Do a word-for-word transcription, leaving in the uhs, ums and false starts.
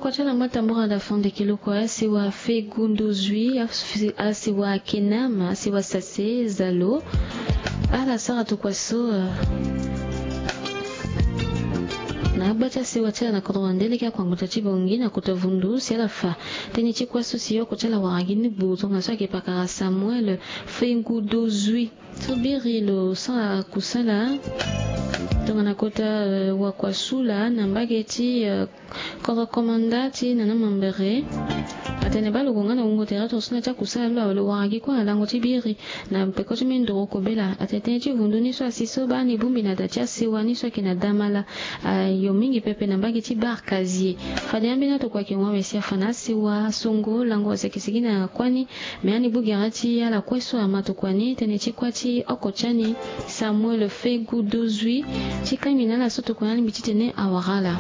Kua ti ala ngba tambura da fande kiloko asewa Fegundozui, asewa Kenam, asewa Sase Zalo. Ala sara tokua so na agba ti asewa ti ala na kodro na nde leke akuangbuta ti Bongi na kota vundu si ala fa tënë ti kua so si oko ti ala wara gi ni gbu tongana so ayeke pakara Samuel Fegundozui. So biri lo sara kusala tongana kota wakua sula na mbage ti kodro komanda ti nana mambere. Atene baa lo gue nga na wungo tere tongana so na ti akusala lo awe lo wara gi kue na lango ti biri na peko ti mendoro kobela. Atene tënë ti vundu ni so asi so baa ni bongbi na da ti asewa ni so ayeke na damala. Ayo mingi pepe na mbage ti bar kazie. Fade ambeni atokua ayeke hon awe si afa na asewa songo lango asi ayeke sigi na kuani. Me ani bu gere ti ala kue so ama tokua ni tënë ti kua ti oko ti ani Samuel Fegundozui ti kangbi na ala so tokua ni alingbi titene awara ala.